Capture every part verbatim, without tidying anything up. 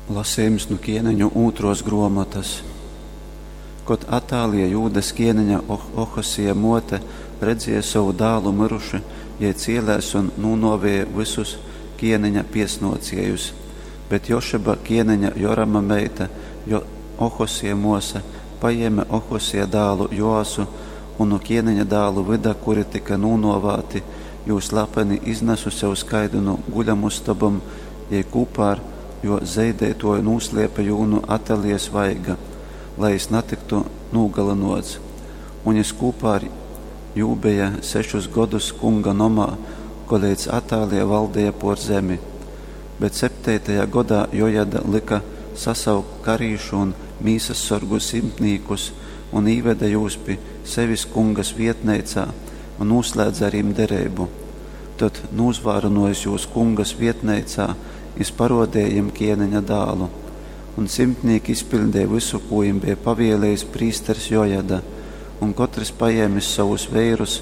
Lasījums nu Ķieneņu ūtros gruomotas. Kod Atālija Jūdas ķieneņa oh Ohosija muote redzēja sovu dālu myruši, jei cielēs un nūnovēja vysus ķieneņa piesnociejus. Bet Jošeba ķieneņa Jorama meita, jo Ohosija muosa, pajēme Ohosija dālu Joasu un nu ķieneņa dālu vyda, kuri tika nūnovāti, jū slepeni iznesuse uz kaidu nu guļamustobom, jei kūpā ar jo zeideituoju nūsliepe jū nu Atalijas vaiga, lai jis natyktu nūgalynuots. Un jis kūpā ar jū beja sešus godus kunga nomā, koleidz Atālija valdeja por zemi. Bet septeitajā godā Jojada lyka sasaukt karīšu un mīsassorgu simtnīkus un īveda jūs pi sevis kungas vietneicā un nūslēdze ar jim dereibu. Tod, nūzvārynojis jūs kungas vietneicā, jis paruodeja jim ķieneņa dālu. Un simtnīki izpiļdeja vysu, kū jim beja pavielējis prīsters Jojada, un kotrs pajēmis savus veirus,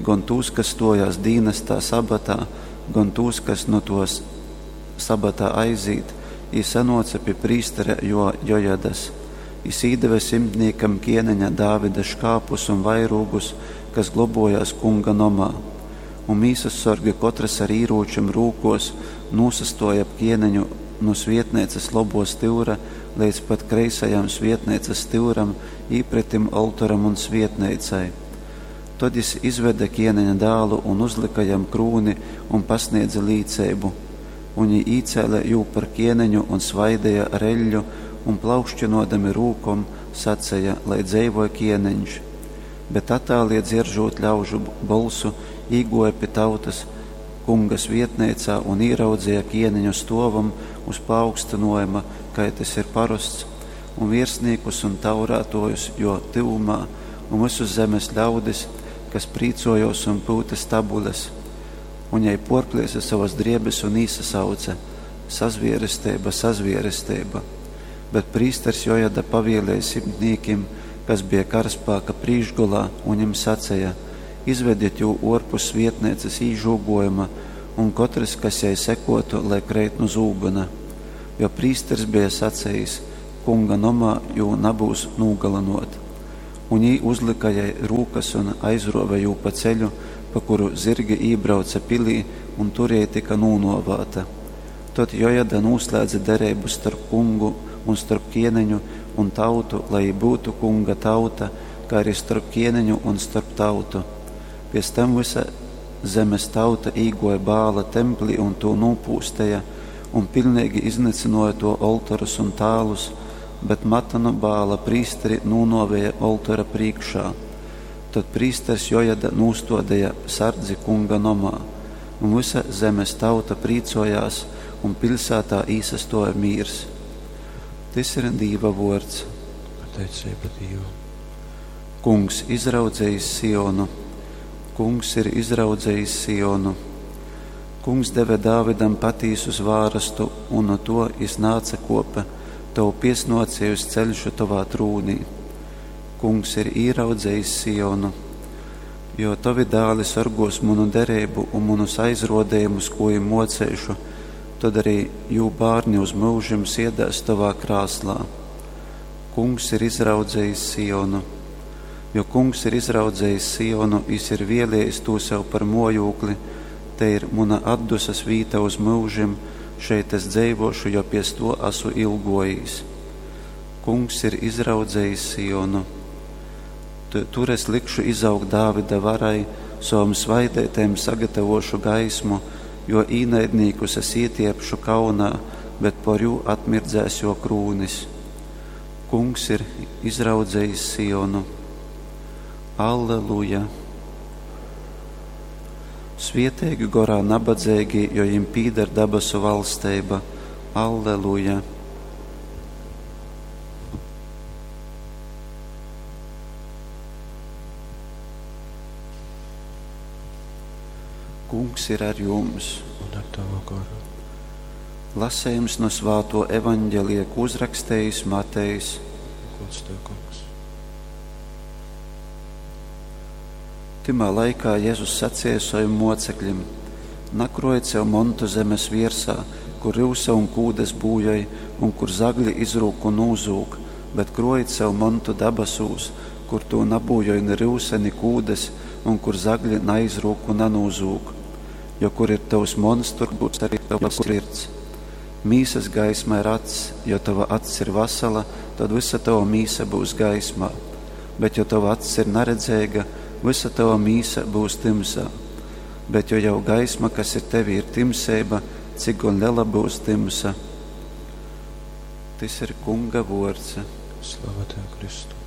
gon tūs, kas stojās dīnestā sabatā, gon tūs, kas nu tos sabatā aizīt, jī sanoca pi prīstera jo Jojadas. Jis īdeve simtnīkam ķieneņa Dāvida škāpus un vairūgus, kas globojās kunga nomā. Un mīsassorgi kotrs ar īrūčim rūkos nūsastoja ap ķieneņu nu svietneicas lobo styura leidz pat kreisajam svietneicas styuram, īpretim oltoram un svietneicai. Tod jis izvede ķieneņa dālu un uzlika jam krūni un pasniedze līceibu. Un jī īcēle jū par ķieneņu un svaideja ar eļļu un plaukšķinodami rūkom saceja, lai dzeivoj ķieneņš. Bet Atālija dzieržot ļaužu bolsu, īgoja pi tautas kungas vietneicā un ieraudzīja ķieneņu stovam uz paaugstinojuma, kai tas ir parasts, un virsniekus un taurātojus, jo tyvumā, un visus zemes ļaudis, kas prīcojos un pūta stabules. Un jai porpliesa savas driebes un īsasauce: sazvieresteiba, sazvieresteiba. Bet prīsters Jojada pavielēja simtnīkim, kas bija karaspēka prīškgolā, un viņam sacēja: izvediet jū orpus vietnēcas īžūgojuma, un kotrs, kas jai sekotu, lai kreit nu zūbena. Jo prīsters bija sacējis: kunga nomā jū nabūs nūgalinot. Un jī uzlika jai rūkas un aizrove jū pa ceļu, pa kuru zirgi ībrauca pilī, un tur jai tika nūnovāta. Tod Jojada nūslēdze dereibu starp kungu un starp ķieneņu un tautu, lai būtu kunga tauta, kā arī starp ķieneņu un starp tautu. Pēc tam visa zemes tauta īgoja Bāla templī un to nūpūsteja, un pilnīgi iznīcināja to oltorus un tālus, bet Matanu Bāla prīsteri nūnovēja oltora priekšā. Tad prīsters Jojada nūstodēja sardzi kunga nomā, un visa zemes tauta prīcojās, un pilsētā īsastoja mīrs. Tys ir Dīva vuords. Pateicība Dievam. Kungs izraudzējis Sionu. Kungs ir izraudzējis Sionu. Kungs deve Dāvidam patīsu zvārastu, un no to jis nāca kopa, tavu piesnocējus ceļšu tavā trūnī. Kungs ir īraudzējis Sionu, jo tavi dāli sargos manu derību un manus aizrodējumus, ko jim mocēšu, tad arī jū bārni uz mūžim siedēs tavā krāslā. Kungs ir izraudzējis Sionu. Jo kungs ir izraudzējis Sionu, jis ir vēlējis to sev par mojūkli, te ir muna atdusas vīta uz mūžim, šeit es dzeivošu, jo pies to esmu ilgojis. Kungs ir izraudzējis Sionu. Tur es likšu izaugt Dāvida varai, savam svaidētēm sagatavošu gaismu, jo īnaidnīkus es ietiepšu kaunā, bet por jū atmirdzēs jo krūnis. Kungs ir izraudzējis Sionu. Alleluja! Svietīgi gorā nabadzīgi, jo jim pīder dabasu valsteiba. Alleluja! Kungs ir ar jums. Un ar tavu goru. Lasējums no svāto evaņģelija, ko uzrakstējis Matejs. Gods tev, kungs. Timā laikā Jēzus sacīja saviem mocekļiem: Nakrojiet sev montu zemes viersā, kur ryusa un kūdes būjoj, un kur zagļi izrūk un nūzūg, bet krōjit sev montu dabasūs, kur tū nabūjoj ni ryusa, ni kūdes, un kur zagļi naizrūk un nanūzūg. Jo kur ir tovs monts, tur būs arī tava sirds. Mīsas gaisma ir acs, jo tova acs ir vasala, tad visa tava mīsa būs gaismā. Bet jo tova acs ir naredzeiga, visa tava mīsa būs tymsā. Bet jo jau gaisma, kas ir tevī, ir timseiba, cik gon lela būs tymsa. Tys ir Kunga vuords. Slava Tev, Kristu!